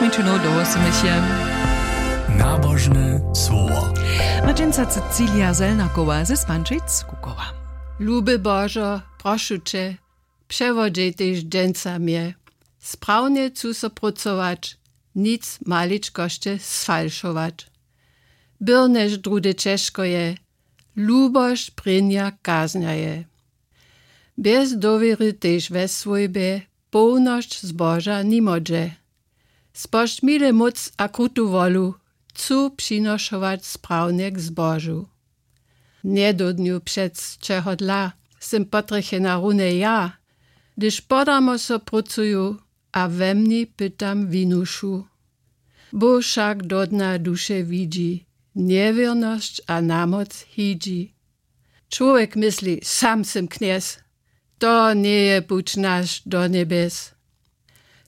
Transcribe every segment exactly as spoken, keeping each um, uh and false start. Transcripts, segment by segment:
Mičinow do wosomyšje. Nabožne słowo. Maćenca Cecilia Zelnakowa ze Spančic Kukowa. Luby Božo, prošu će, přewodźej tež dźensa mje. Sprawnje chcu so prócować, nic maličkosće sfalšować. Byrnjež druhdy ćežko je, lubosć prěnja kaznja je. Bjez dowěry tež we swójbje połnosć zboža nimodźe. Spožč mile móc a krutu wolu chcu přinošować sprawnje k zbožu. Njedódnju přec čehodla sym potrjechena runje ja, hdyž podarmo so prócuju a we mni pytam winušu. Bóh wšak do dna duše widźi, njewěrnosć a namoc hidźi. Čłowjek mysli, sam sym knjez, to njeje puć naš do njebjes.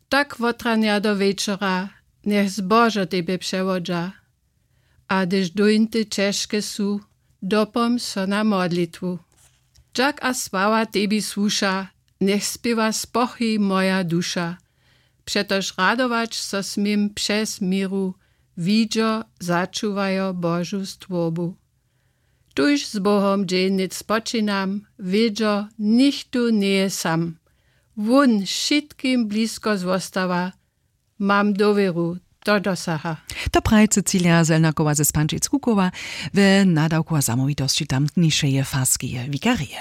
Tak wotranja do wječora, njech zbožo tebje přewodźa. A hdyž dóńty ćežke su, dopomž so na modlitwu. Dźak a sława tebi słuša, njech spěwa spochi moja duša. Přetož radować so směm přez měru, widźo, začuwajo Božu stwórbu. Tuž z Bohom dźeń něc spočinam, wědźo, nichtó njeje sam. Wón wšitkim blisko zwostawa, mam dowěru, to dosaha. To praji Cecilia Zelnakowa ze Spančic Kukowa we nadawku a zamołwitosći tamtnišeje farskeje wikarije.